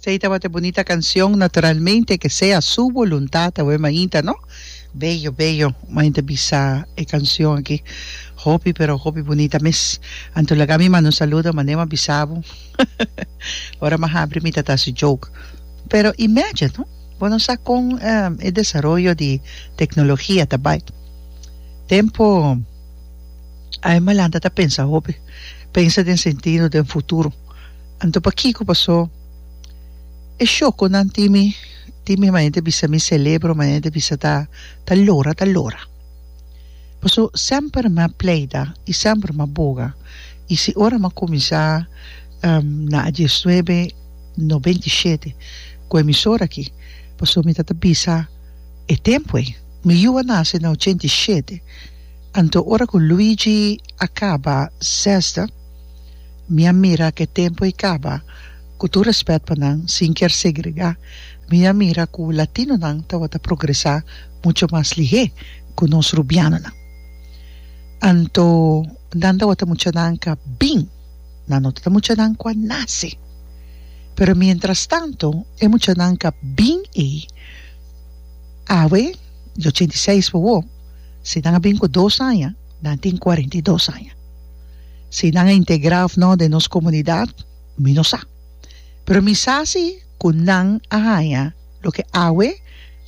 Esey tabata e bunita cancion naturalmente que sea su voluntad awe mainta no bello bello mainta bisa e cancion aki hopi pero hopi bunita mes anto laga mi manda un saludo manera mi a bisa bo ora mi a habri mi ta ta haci joke pero imagine no bo no sa con e desaroyo di tecnologia ta bay tempo ay malanta ta pensa hopi pensa den sentido den futuro. Anto pakiko paso e shokonan tin mi tin mi manera ta bisa mi celebro manera ta bisa ta ta lora ta lora. Paso semper mi a pleita y semper mi a boga y si ora mi a cuminsa na diesnuebe noventa y shete cu emisora aki paso mi ta ta bisa e tempo ey mi yu a nace na ochenta y shete anto ora cu Luigi a caba zesde. Mi a mira ku e tempu ei kaba, ku tur rèspèt pa nan, sin kier segregá, mi a mira ku latinonan tabata progresá mucho mas lihé ku nos rubianonan. Anto nan tabata muchanan ka bin, nan no tabata muchanan ku a nase. Pero mientrastanto e muchanan ka bin ei, awe, di 86 pa wou, si nan a bin ku dos aña, nan tin 42 aña. Si nan a integrá òf no den nos komunidat, mi no sa. Pero mi sa si ku nan a haña loke awe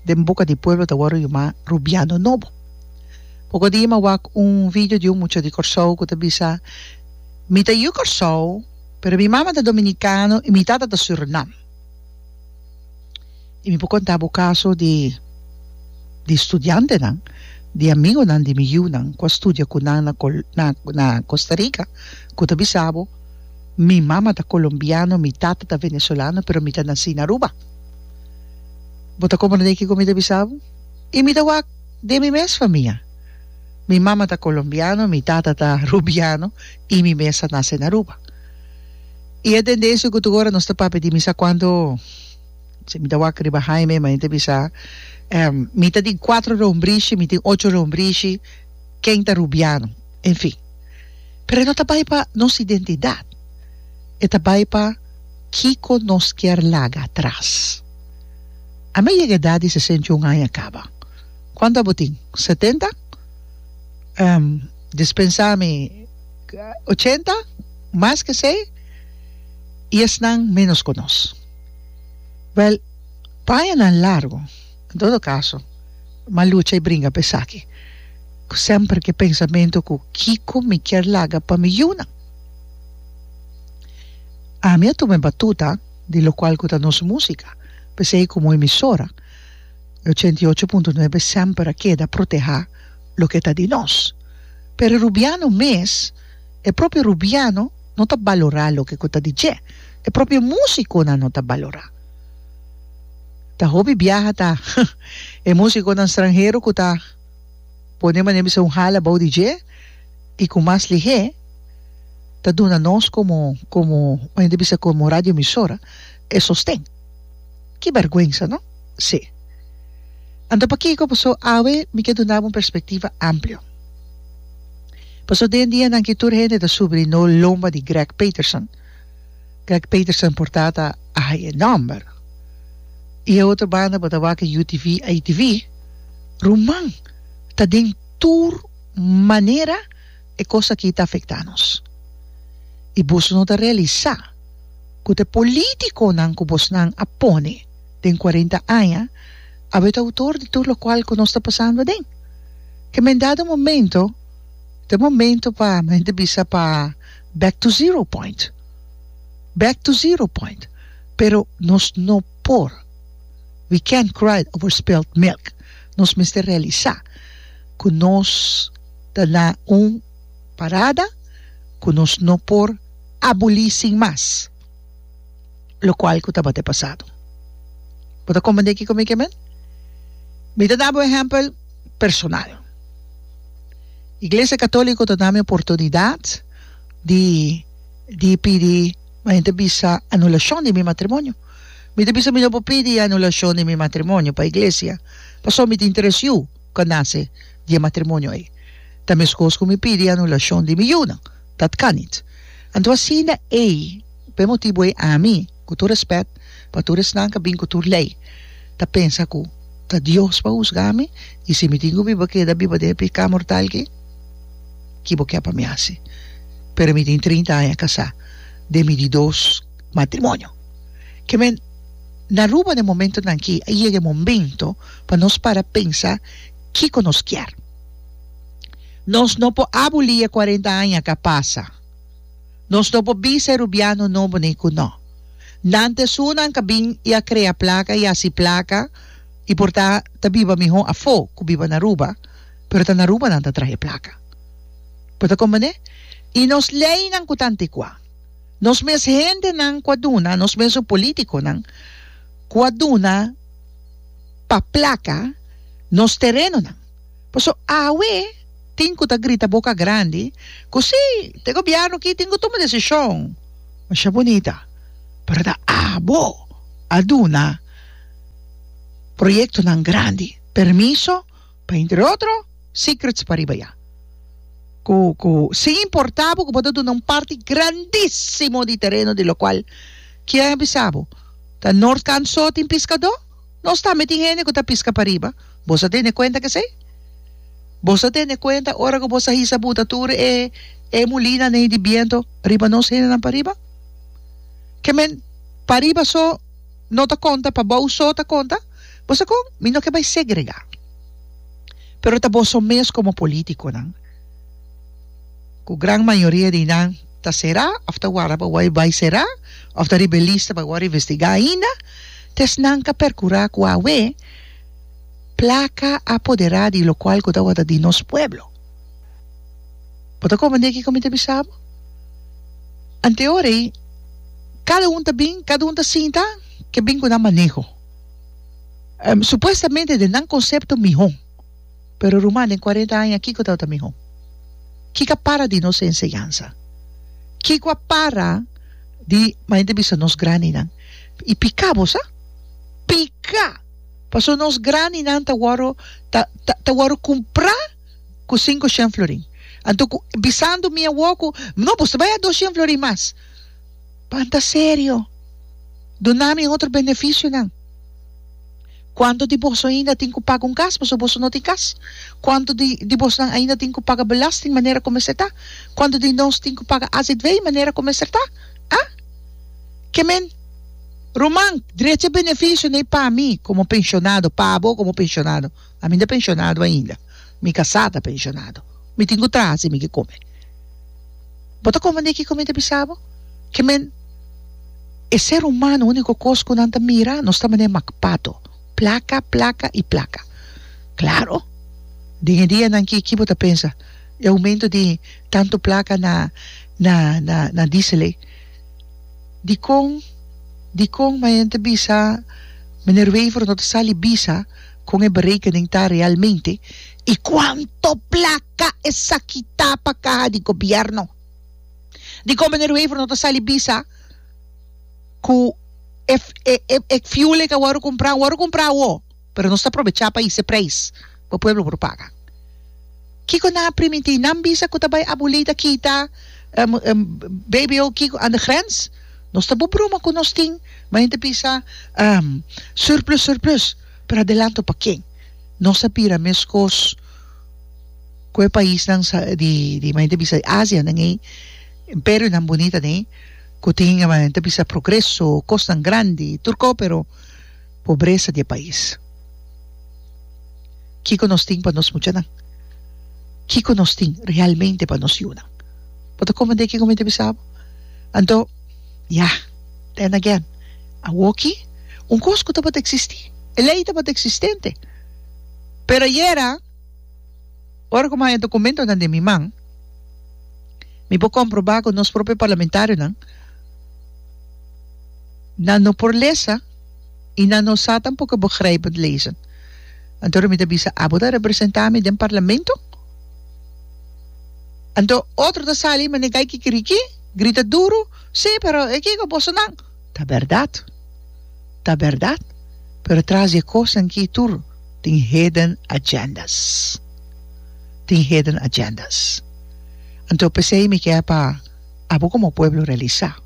den boka di pueblo ta wòrdu yamá rubiano nobo. Poko dia mi a wak un video di un mucha di Kòrsou ku ta bisa, Mi ta yu Kòrsou, pero mi mama ta dominikano i mi tata ta Surinam. I mi por konta bo kaso di di studiantenan, di amigonan di mi yunan ku a studia ku nan na na na Costa Rica ku ta bisa bo, Mi mama ta kolombiano, mi tata ta venezolano, pero mi ta nasí na Aruba. Bo ta komprendé kiko mi ta bisa bo? I mi ta wak den mi mes famia. Mi mama ta kolombiano, mi tata ta rubiano i mi mes a nase na Aruba. I e tendensia ku tur ora nos ta papia di mi sa kuantu. Si mi ta wak riba Jaime, ma ta bisa, Mi ta tin cuatro rombrishi, mi tin ocho rombrishi, ken ta Rubiano? En fin. Pero e no ta bai pa nos identidad. E ta bai pa kico nos kier laga atras. Ami a yega edad di 61 aña caba. Cuanto abo tin? Setenta? Dispensa mi, ochenta? Mas ke esey? I esnan menos cu nos. Wèl, pañanan largu, en todo kaso, m'a lucha i bringa pa esaki, ku semper ku e pensamentu ku kiko mi kier laga pa mi yunan. Ami a tuma e batuta di lokual ku ta nos músika, p'esei komo emisora, e 88.9 semper a keda protehá loke ta di nos. Pero e rubiano mes, e propio rubiano no ta balorá loke ku ta di dje. E propio musiconan no ta balora. Ta hopi biaha ta e musiconan stranhero cu ta pone manera bisa un hala bou di dje y cu mas lihe ta duna nos como como manera bisa como radio emisora e sosten. Ki berguensa no? Si. Anto pakico? Paso awe mi ke duna bo un perspectiva amplio. Paso den dianan ki tur hende ta subri no lomba di Greg Peterson. Greg Peterson por ta ta a haya e nòmber. I e otro banda bo ta wak e UTV, ATV. Ruman, ta den tur manera e kos aki ta afektá nos. I boso no ta realisá ku ta e polítikonan ku bosnan a pone den kuarenta aña awe ta outor di tur lokual ku nos ta pasando aden. Ke men dado momento ta e momento pa men ta bisa pa back to zero point. Back to zero point. Pero nos no por. We can't cry over spilled milk. Nos mester realisa cu nos ta na un parada cu nos no por aboli sin mas locual cu tabata e pasado. Bo ta comprende kico mi ke men? Mi ta dabo ehempel personal. Iglesia Catolico ta dami oportunidad di di pidi ma hende bisa anulacion di mi matrimonio. Mi ta bisa mi no por pidi anulacion di mi matrimonio pa iglesia pasobra mi tin tres yu cu a nace di e matrimonio ey. Ta mescos cu mi pidi anulacion di mi yunan. Dat kan niet. Anto asina ey, pa e motibo ey ami, cu tur respet, Pa tur esnan ka bin ku tur lei ta pensa ku ta Dios pa husga mi i si mi tin ku biba keda biba den e piká mortal aki, ki bo ke pa mi hasi? Pero mi tin trinta aña kasá den mi di dos matrimonio. Ke men na Aruba den momentonan aki a yega e momento pa nos para pensa kiko nos kier. Nos no por abulí e kuarenta aña ka pasa. Nos no por bisa e rubiano nobo ni ku no. Nan ta esunnan ka bin i a krea plaka i hasi plaka i por ta ta biba mihó afó ku biba na Aruba, pero ta na Aruba nan ta traha e plaka. Bo ta komprendé? I nos leinan ku ta antikuá, nos mes hendenan ku a duna, nos mesun polítikonan ku a duna pa plaka nos terenonan. Pasobra awe tin ku ta grita boka grandi ku si, ta e gobièrnu aki tin ku tuma desishon. Masha bunita, pero ta abo a duna proyektonan grandi permiso pa entre otro secrets pariba ya. Ku ku sin importa bo ku bo ta duna un parti grandisimo di tereno di lokual kier a bisa bo ta Noordkant so tin piskadó? Nos tambe tin hende ku ta piska pariba. Bo sa tene kuenta kesei? Bo sa tene kuenta ora ku bo sa hisa buta tur e e mulinanan ei di biento riba nos hendenan pariba? Ke men pariba so no ta konta, pabou so ta konta? Bo sa kon? Mi no ke bai segregá. Pero ta boso mes komo politikonan, ku gran mayoria di nan ta será òf ta warda pa wòrdu bai será òf ta riba e lista pa wòrdu investigá ainda, ta esnan ka perkurá ku awe, Placa a poderá di locual cu tabata di nos pueblo. Bo ta comprende kico mi ta bisa bo? Anteor ei, cada un ta bin, cada un ta sinta ke bin cu nan maneho. Supuestamente den nan concepto miho. Pero ruman, den cuarenta aña kico tabata miho? Kico a para di nos enseñansa? Kico a para di, manera ta bisa, nos grandinan? Y pica bo sa? Pica! Pasobra nos grandinan ta wòrdu ta ta ta wòrdu kumprá ku sinku shen florin. Anto ku bisando mi awor ku no bo ta bai a dos shen florin mas. Pan ta serio. Duna mi otro benefisionan. Kuantu di boso ainda tin ku paga un kas pasobra boso no tin kas? Kuantu di di bosnan ainda tin ku paga belasting manera ku mester ta? Kuantu di nos tin ku paga azv manera ku mester ta? Ah? Ke men? Ruman, drecha benefisio n'ei pa mi komo penshonado, pa abo komo penshonado. Ami no ta penshonado ainda. Mi kasá ta penshonado. Mi tin ku traha si mi ke kome. Bo ta komprendé kiko mi ta bisa bo? Ke men, e ser humano úniko kos ku nan ta mira, nos ta manera makpato. Plaka, plaka i plaka. Klaro, den e dianan ki, ki bo ta pensa? E oumento di tantu plaka na, na, na, na diesel ei. Dikon dikon mayen ta bisa Meneer Wever no ta sali bisa kon e berekening ta realmente y cuanto placa esaki ta pa caha di gobierno? Dikon Meneer Wever no ta sali bisa cu e e e fuel ey ta worde cumpra worde cumpra awo pero nos ta probecha pa hisa e prijs pa pueblo por paga? Kiko nan a primintí? Nan bisa ku ta bai abolí ta kita BBO kiko aan de grens? Nos ta bo broma ku nos tin, ma hende bisa surplus surplus, pero adelanto pa ken? Nos a bira meskos ku e paisnan di di ma hende bisa Asia nan ei, imperionan bunita nei ku tin ma hende bisa progreso, kosnan grandi, tur ko pero pobresa di e pais. Kiko nos tin pa nos muchanan? Kiko nos tin realmente pa nos yunan? Bo ta komprendé kiko mi ta bisa bo? Anto, ya, then again, awoki un kos ku tabata eksistí, e lei tabata eksistente. Pero ayera, ora ku mi haña dokumentonan den mi man, mi por komprobá ku nos propio parlamentarionan, nan no por lesa i nan no sa tampoko begrijpend lezen. Anto mi ta bisa, abo ta representá mi den parlamento? Anto otro ta sali manera gai kikiriki, grita duru, Sí, pero e kiko bosonan? Ta bèrdat, ta bèrdat, pero tras di e kosnan ki tur tin hidden agendas, tin hidden agendas. Anto p'esei mi ke pa abo komo pueblo realisá.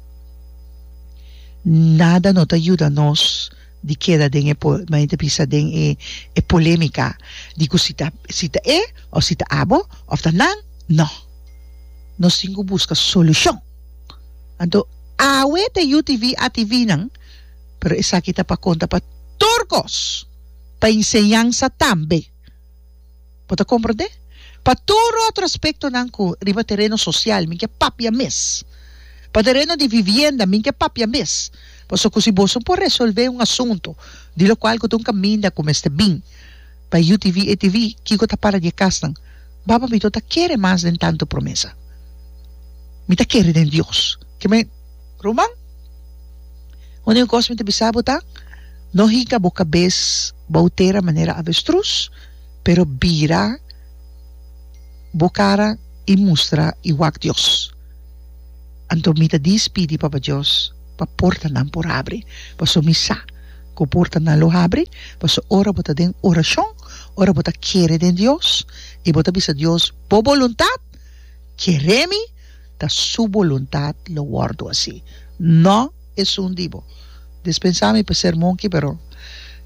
Nada no ta yuda nos di keda den e manera ta bisa den e e polemica di cu si ta si ta e of si ta abo of ta nan, no. Nos tin cu busca solucion. Anto awe ta UTV, ATV nan, pero esaki ta pa conta pa tur cos, pa enseñansa tambe. Bo ta komprendé? Pa tur otro aspektonan ku riba tereno sosial mi ke papia mes. Pa tereno di vivienda mi ke papia mes. Pasobra ku si boso por resolvé un asuntu di lokual ku ta un kaminda ku mester bin pa UTV, ATV, kiko ta para di e kasnan? Baba mi no ta kere mas den tantu promesa. Mi ta kere den Dios. Ke men, ruman, úniko kos mi ta bisa bo ta, no hinka bo kabes bou tera manera avestruz. Pero bira bo cara y mustra y wak Dios. Anto mi ta dispidi Papa Dios pa portanan por habri, paso mi sa cu portanan lo habri, paso ora bo ta den oracion, ora bo ta kere den Dios y bo ta bisa Dios bo boluntad, kere mi ta su boluntad lo wordo haci, no esun di bo. Despensa mi pa ser monki pero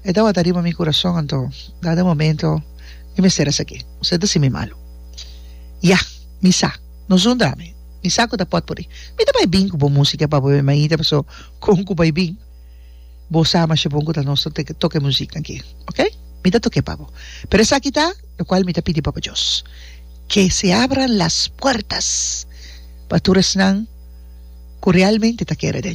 e tabata riba mi kurason anto dado momento mi mester a saki. Usted ta si mi malu. Ya, mi sa. No zundra mi. Mi sa ku ta potpuri. Mi ta bai bin ku bo musika pa bo e mainta paso kon ku bai bin bo sa masha bon ku ta nos ta toka e muzik aki. Ok? Mi ta toke pa bo. Pero esaki ta lokual mi ta pidi Papa Dios. Que se abran las puertas pa tur esnan ku realmente ta kere den.